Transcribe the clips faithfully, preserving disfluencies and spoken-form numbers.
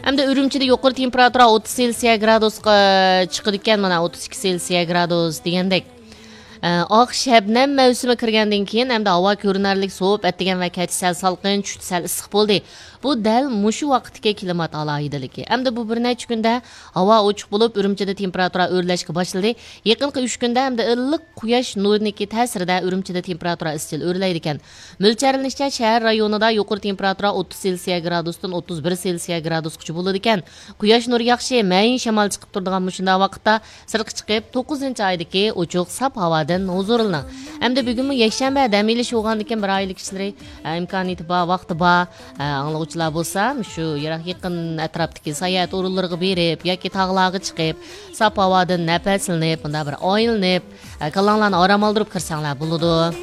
ئەمدى ئۈرۈمچىدە يۇقىرى تېمپېراتۇرا ئوتتۇز سېلسىيە گرادۇسقا چىقىدىكەن، مانا، ئوتتۇز ئىككى سېلسىيە گرادۇس دېگەندەك. ئە، ئاق شەبنەم مەۋسۇمى كىرگەندىن كېيىن ئەمدى ھاۋا كۆرۈنەرلىك سوۋۇپ، ئەتىگەن ۋە كەچ سەل سالقىن، چۈشتە سەل ئىسسىق بولدى. بۇ دەل مۇشۇ ۋاقىتتىكى كىلىمات ئالاھىدىلىكى. ئەمدى بۇ بىر نەچچە كۈندە ھاۋا ئوچۇق بولۇپ، ئۈرۈمچىدە تېمپېراتۇرا ئۆرلەشكە باشلىدى. يېقىنقى ئۈچ كۈندە ئەمدى ئىللىق قۇياش نۇرىنىڭكى تەسىرىدە ئۈرۈمچىدە تېمپېراتۇرا ئىزچىل ئۆرلەيدىكەن. مۆلچەرلىنىشىچە، شەھەر رايونىدا يۇقىرى تېمپېراتۇرا ئوتتۇز سېلسىيە گرادۇستىن ئوتتۇز بىر سېلسىيە گرادۇسقىچە بولىدىكەن. قۇياش نۇرى ياخشى، مەيىن شامال چىقىپ تۇرىدىغان مۇشۇنداق ۋاقىتتا سىرتقا چىقىپ، توققۇزىنچى ئايدىكى ئوچۇق، ساپ ھاۋادىن ھۇزۇرلىنىڭ. ئەمدى بۈگۈنمۇ يەكشەنبە، دەم ئېلىش بولغاندىكىن، بىر ئائىلە كىشىلىرى، ئە، ئىمكانىيىتى بار، ۋاقتى بار، ئە، ئاڭلىغۇچىلار بولسا، شۇ يىراق يېقىن ئەتراپتىكى ساياھەت ئورۇنلىرىغا بېرىپ ياكى تاغلارغا چىقىپ، ساپ ھاۋادىن نەپەسلىنىپ، مۇنداق بىر ئايلىنىپ، ئە، كاللاڭلارنى ئارام ئالدۇرۇپ كىرسەڭلار بولىدۇ.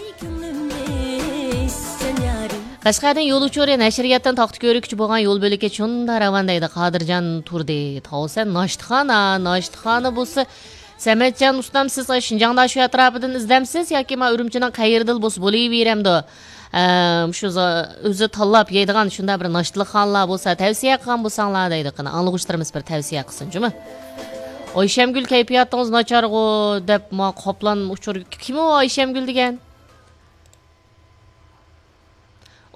قەشقەردىن يول ئۇچۇرى، نەشرىياتتىن تاختا كۆرۈكچە بولغان يول بۆلىكى شۇنداق راۋان دەيدۇ، قادىرجان تۇردى. تاۋسەن ناشتىخانا، ناشتىخانا بولسا، سەمەتجان ئۇستام، سىز شىنجاڭدا شۇ ئەتراپىدىن ئىزدەمسىز ياكى ما ئۈرۈمچىنىڭ قەيىرىدىلا بولسا بولۇۋېرەمدۇ؟ ئە، شۇ زا-، ئۆزى تاللاپ يەيدىغان شۇنداق بىر ناشتىلىقخانىلار بولسا تەۋسىيە قىلغان بولساڭلار دەيدۇ. قېنى، ئاڭلىغۇچىلىرىمىز بىر تەۋسىيە قىلسۇن جۇمۇ. ئايشەمگۈل، كەيپىياتىڭىز ناچارغۇ دەپ ما قاپلان ئۇچۇر، كىم ئۇ ئايشەمگۈل دېگەن؟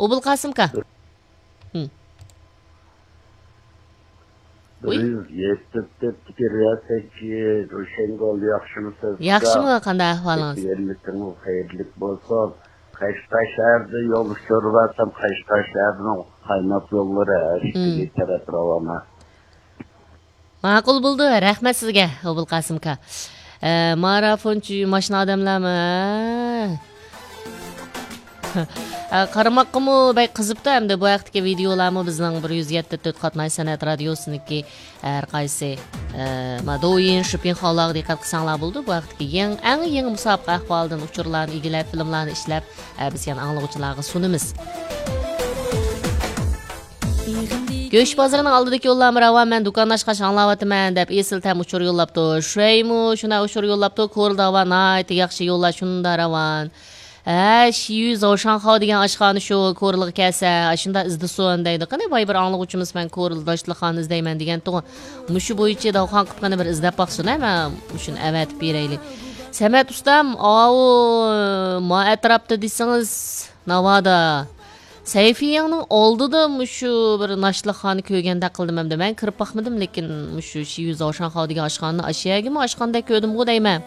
ئوبۇلقاسىمكا. ھىم. بىر يۈز يەتتە تۆت، يەتتە سەككىز، روشەنگۈل، ياخشىمۇسىز؟ ياخشىمۇ، قانداق ئەھۋالىڭىز؟ يەرلىكىڭىز خەيرلىك بولسۇن. قەشقەر شەھىرىدە يول ئۇچۇرى بار، قەشقەر شەھىرىنىڭ قايناق يوللىرى ھەر ئىككى تەرەپ راۋانە. ماقۇل بولدى، رەھمەت سىزگە، ئوبۇلقاسىمكا. ئە، مارافونچى ماشىنا ئادەملەرمۇ، ھە؟ ئە، قارىماققىمۇ بەك قىزىپتۇ، ئەمدى بۇ ھەقتىكى ۋىدېئولارمۇ بىزنىڭ بىر يۈز يەتتە تۆت قاتناش سەنئەت رادىيوسىنىڭكى ھەر قايسى، ئە، ما دويىن، شۇپىڭخاۋلارغا دىققەت قىلساڭلار بولىدۇ. بۇ ھەقتىكى يېڭى، ئەڭ يېڭى مۇسابىقە ئەھۋالىدىن ئۇچۇرلارنى ئىگىلەپ، فىلىملارنى ئىشلەپ، ئە، بىز يەنە ئاڭلىغۇچىلارغا سۇنىمىز. گۆش بازىرىنىڭ ئالدىدىكى يوللارمۇ راۋان، مەن دۇكان ئاچقاچ ئاڭلاۋاتىمەن دەپ ئېسىل تەم ئۇچۇر يوللاپتۇ. شۇەيمۇ شۇنداق ئۇچۇر يوللاپتۇ، كورلىدا ھاۋا ناھايىتى ياخشى، يوللار شۇنداق راۋان. ھە، شىيۈ زاۋشاڭخاۋ دېگەن ئاشخانا شۇ، كورلىغا كەلسە، ئاشۇنداق ئىزدىسۇن دەيدۇ. قېنى، بايا بىر ئاڭلىغۇچىمىز، مەن كورلا داشلىخانا ئىزدەيمەن دېگەنتىغۇ. مۇشۇ بويىچە داۋخان قىلىپ قېنى بىر ئىزدەپ باقسۇن، ھە، مەن مۇشۇنى ئەۋەتىپ بېرەيلى. سەمەت ئۇستام، ئاۋۇ ما ئەتراپتا دېسىڭىز، ناۋادا. سەيفىيەڭنىڭ ئالدىدا مۇشۇ بىر ناشتىلىقخانا كۆرگەندەك قىلدىم ئەمدى. مەن كىرىپ باقمىدىم، لېكىن مۇشۇ شىيۈ زاۋشاڭخاۋ دېگەن ئاشخانىنى ئاشۇ يەرگىمۇ ئاچقاندەك كۆردۈمغۇ دەيمەن.